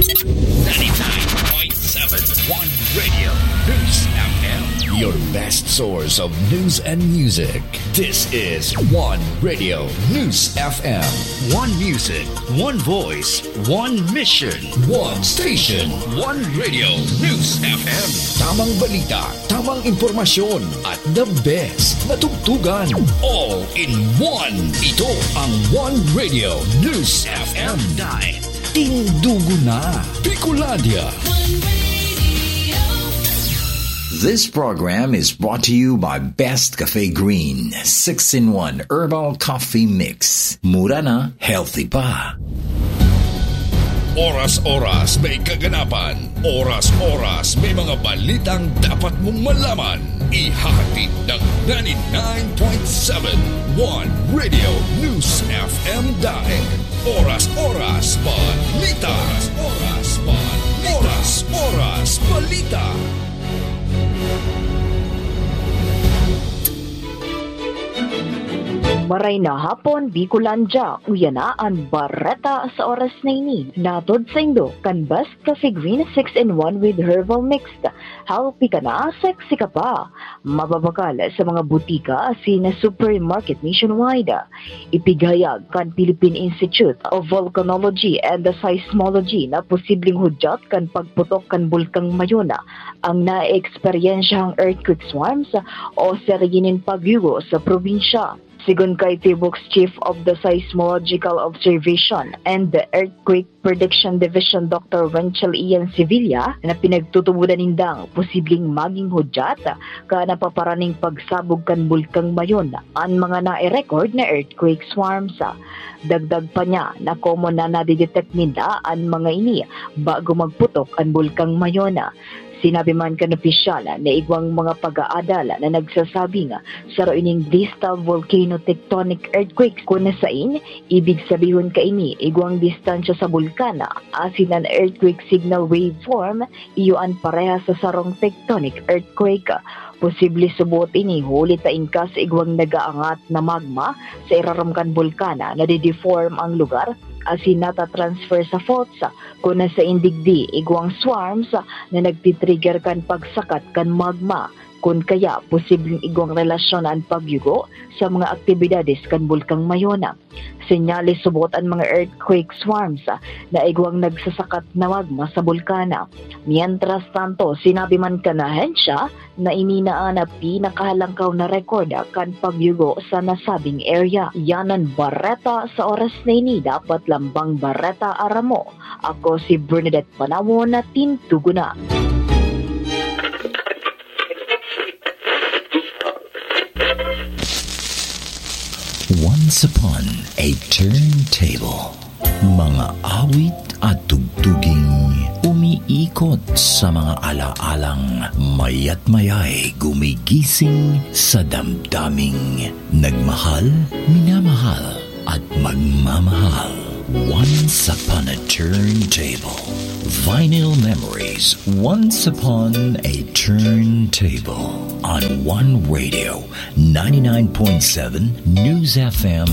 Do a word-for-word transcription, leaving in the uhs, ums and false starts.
ninety-nine point seven One Radio News F M. Your best source of news and music. This is One Radio News F M. One music, one voice, one mission. One station. One Radio News F M. Tamang balita, tamang impormasyon, at the best na tugtugan. All in one. Ito ang One Radio News F M. Dahil tindugo na Bicolandia. This program is brought to you by Best Cafe Green, six-in-one Herbal Coffee Mix. Mura na, healthy pa. Oras-oras may kaganapan. Oras-oras may mga balitang dapat mong malaman. Ihahatid ng ninety-nine point seven One Radio News F M Daet. Oras-oras balita. Oras-oras balita. Oras-oras balita. Maray na hapon, Bicolandia. Uya na an bareta sa oras na ini. Natod saindo kan Best Coffee Green six-in-one with Herbal Mix. Healthy ka na, sexy ka pa. Mababakal sa mga butika asin supermarket nationwide. Ipighayag kan Philippine Institute of Volcanology and Seismology na posibleng hudyat kan pagputok kan Bulkang Mayona ang naeeksperyensyahang earthquake swarms o serye nin pagyugo sa probinsya. Sigon kay PHIVOLCS Chief of the Seismological Observation and the Earthquake Prediction Division, Doctor Wenchel Ian Sevilla, na pinagtutubodan nindang posibleng magin hudyat kan napaparaning pagsabog kan Bulkang Mayona an mga nai-record na earthquake swarms. Dagdag pa niya na common na nadidetect ninda an mga ini bago magputok an Bulkang Mayona. Sinabi man kan opisyal na igwang mga pag-aadal na nagsasabing saro ining distal volcano tectonic earthquake, kun sain, ibig sabihon kaini, igwang distansya sa bulkan asin an earthquake signal waveform, iyo an parehas sa sarong tectonic earthquake. Posible subot ini huli ta inkas igwang nag-aangat na magma sa irarom kan bulkan, nadideform ang lugar asin natatransfer sa faults, kun sain digdi igwang swarms na nagtitrigger kan pagsakat kan magma. Kun kaya, posibleng igwang relasyon an pagyugo sa mga aktibidades kan Bulkang Mayona. Senyales subot an mga earthquake swarms na igwang nagsasakat na magma sa bulkan. Mientras tanto, sinabi man kan ahensya na ini na an pinakahalangkaw na rekord kan pagyugo sa nasabing area. Yan an bareta sa oras na ini. Dapat lambang bareta aram mo. Ako si Bernadette Panawon na tindugo na. Once upon a turntable. Mga awit at tugtuging umiikot sa mga alaalang mayat mayay gumigising sa damdaming nagmahal, minamahal, at magmamahal. Once upon a turntable. Vinyl memories. Once upon a turntable. On One Radio, ninety-nine point seven News F M,